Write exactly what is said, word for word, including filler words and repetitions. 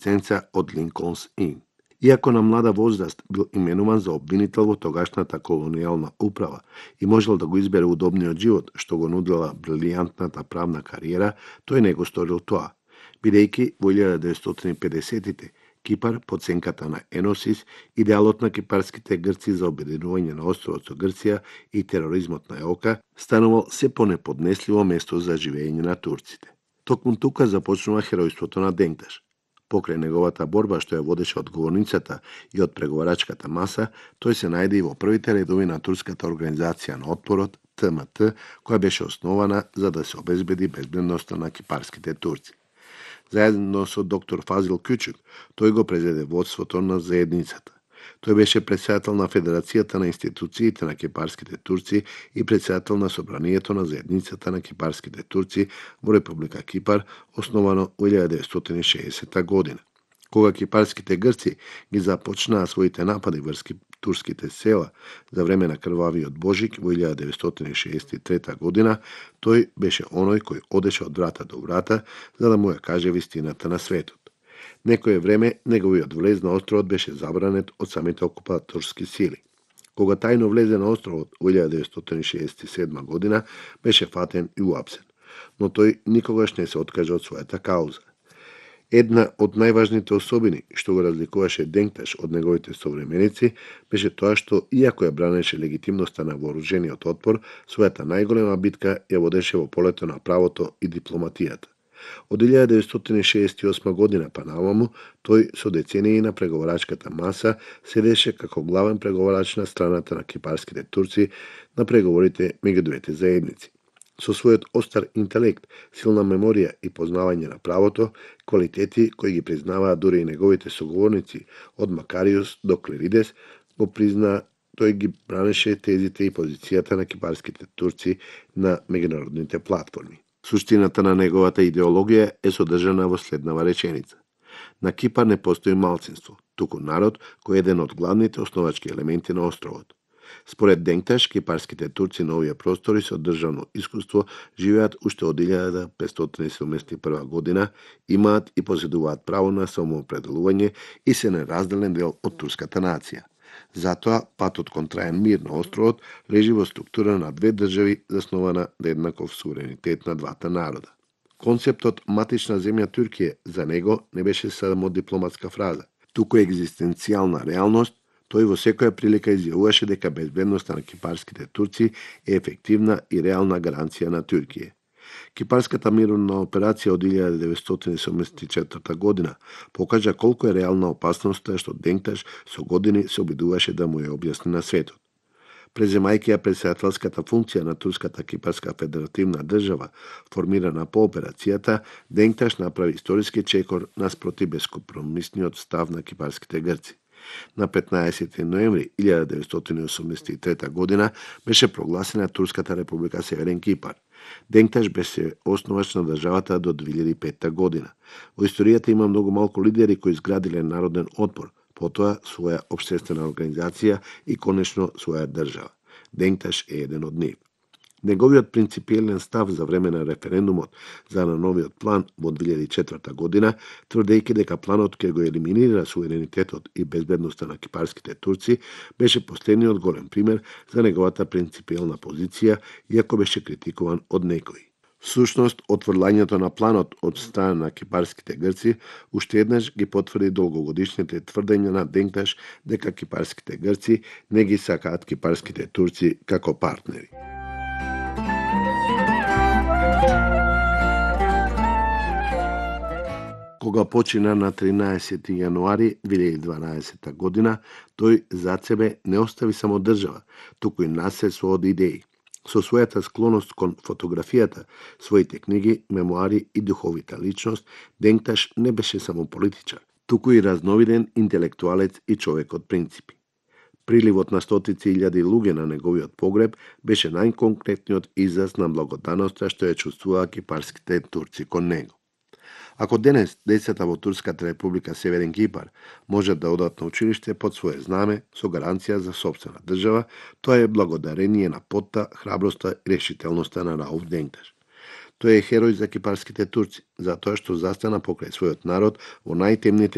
ценца од Линколнс Ин. Иако на млада возраст бил именуван за обвинител во тогашната колонијална управа и можел да го избере удобниот живот што го нудела брилијантната правна кариера, тој не го сторил тоа, бидејќи во илјада деветстотини и педесетите Кипар, под сенката на Еносис, идеалот на кипарските грци за обединување на островот со Грција и тероризмот на ЕОКА, станувал се понеподнесливо место за живење на турците. Токму тука започнува херојството на Денкташ. Покрај неговата борба што ја водеше од говорницата и од преговарачката маса, тој се најде и во првите редови на турската организација на отпорот, Т М Т, која беше основана за да се обезбеди безбедноста на кипарските турци. Заедно со доктор Фазил Кючук, тој го презеде водството на заедницата. Тој беше председател на Федерацијата на институциите на кипарските турци и председател на Собранието на заедницата на кипарските турци во Република Кипар, основано во илјада деветстотини и шеесета година. Кога кипарските грци ги започнаа своите напади врз турските села за време на крвавиот Божик во илјада деветстотини и шеесет и трета година, тој беше оној кој одеше од врата до врата за да му ја каже вистината на светот. Некое време неговиот влез на островот беше забранет од самите окупаторски сили. Кога тајно влезе на островот во илјада деветстотини и шеесет и седма година, беше фатен и уапсен, но тој никогаш не се откажа од својата кауза. Една од најважните особини што го разликуваше Денкташ од неговите современици беше тоа што, иако ја бранеше легитимноста на вооружениот отпор, својата најголема битка ја водеше во полето на правото и дипломатијата. Од илјада деветстотини шеесет и осма година па наваму, тој со децении на преговарачката маса седеше како главен преговарач на страната на кипарските турци на преговорите меѓу двете заедници. Со својот остар интелект, силна меморија и познавање на правото, квалитети кои ги признаваа дури и неговите соговорници од Макариус до Клеридес, го признаа, тој ги бранеше тезите и позицијата на кипарските турци на меѓународните платформи. Суштината на неговата идеологија е содржана во следнава реченица. На Кипар не постои малцинство, туку народ кој е еден од главните основачки елементи на островот. Според Денкташ, кипарските турци на овие простори со државно искуство живеат уште од илјада петстотини и седумдесет и прва година, имаат и поседуваат право на самоопределување и се неразделен дел од турската нација. Затоа, патот кон траен мир на островот лежи во структура на две држави заснована на еднаков суверенитет на двата народа. Концептот матична земја Туркија за него не беше само дипломатска фраза, туку екзистенцијална реалност. Тој во секоја прилика изјавуваше дека безбедноста на кипарските турци е ефективна и реална гаранција на Туркија. Кипарската мировна операција од илјада деветстотини и седумдесет и четврта година покажа колку е реална опасноста што Денкташ со години се обидуваше да му ја објасни на светот. Преземајќи ја председателската функција на Турската кипарска федеративна држава, формирана по операцијата, Денкташ направи историски чекор наспроти бескомпромисниот став на кипарските грци. На петнаесети ноември илјада деветстотини и осумдесет и трета година беше прогласена Турската република Северен Кипар. Денкташ беше основач на државата до две илјади и петта година. Во историјата има многу малку лидери кои изградиле народен отпор, потоа своја општествена организација и конечно своја држава. Денкташ е еден од нив. Неговиот принципиелен став за време на референдумот за на новиот план во две илјади и четврта година, тврдејќи дека планот ќе го елиминира суверенитетот и безбедноста на кипарските турци, беше последниот голем пример за неговата принципиелна позиција, иако беше критикуван од некои. Всушност, отврлањето на планот од страна на кипарските грци уште еднаш ги потврди долгогодишните тврдења на Денкташ дека кипарските грци не ги сакаат кипарските турци како партнери. Кога почина на тринаесети јануари две илјади и дванаесета година, тој зад себе не остави само држава, туку и наследство од идеи. Со својата склоност кон фотографијата, своите книги, мемуари и духовита личност, Денкташ не беше само политичар, туку и разновиден интелектуалец и човек од принципи. Приливот на стотици илјади луѓе на неговиот погреб беше најконкретниот израз на благодарноста што ја чувствуваа кипарските турци кон него. Ако денес децата во Турската република Северен Кипар можат да одат на училиште под свое знаме со гаранција за сопствена држава, тоа е благодарение на потта, храброста и решителноста на Рауф Денкташ. Тој е херој за кипарските турци, затоа што застана покрај својот народ во најтемните